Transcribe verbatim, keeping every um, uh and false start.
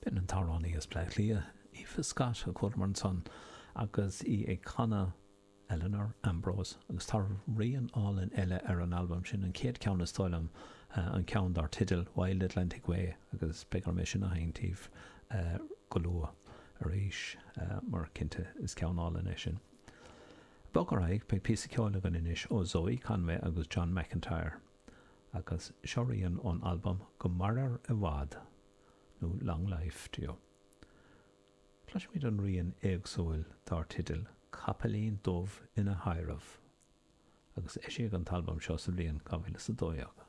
B'in an t-amhránaí as Bleá Cliath, Aoife Scott, a chualamar ansan agus í ag canadh Eleanor Ambrose, agus tá rian álainn eile ar an albam sin, an chéad cheann is dóigh liom, an ceann dar teideal Wild Atlantic Way, agus beidh orm é sin a sheinnt daoibh go luath arís, mar cinnte is ceann álainn é sin. Bog ar aghaidh, beidh píosa ceoil againn anois ó Zoe Conway agus John McEntire, agus seo rian ón albam Go Mairir i bhFad, nó Long Life to You. Cloisfimid an rian éagsúil dar teideal Capaillín Dubh ina Thaidhreamh, agus eisíodh an t-albam seo sa bhliain dhá mhíle is a dó dhéag.